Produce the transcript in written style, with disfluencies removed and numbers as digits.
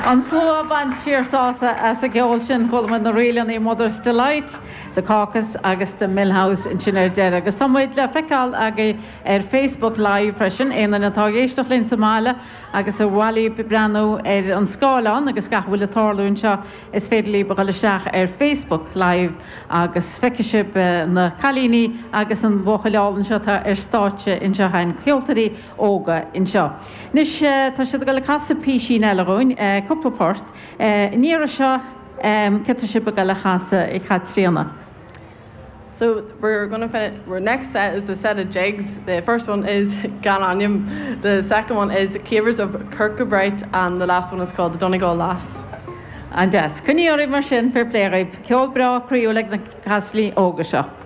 An slua ag baint fíorshásamh as an gceol sin. Chuala muid na ríleanna Mother's Delight, The Caucus agus The Mill House ansin ar deireadh. Agus tá muid le feiceáil agaibh ar Facebook Live freisin. Aon duine atá ag éisteacht linn sa mbaile agus ar mhaith libh breathnú ar an scáileán agus gach a bhfuil ag tarlú anseo, is féidir libh a dhul isteach ar Facebook Live agus feicfidh sibh na cailíní agus an buachaill álainn seo atá ar stáitse anseo againn, ceoltóirí óga anseo. Anois tá siad ag dul ag casadh písín eile dhúinn, cúpla port. An iarraidh seo, céard tá sibh ag dul a chasadh, a Chaitríona? So we're gonna finish, our next set is a set of jigs. The first one is Gan Ainm, the second one is Cavers of Kirkcudbright and the last one is called The Donegal Lass. An-deas. Coinnigí oraibh mar sin, fair play dhaoibh. Ceol breá croíúil ag na cailíní óga seo.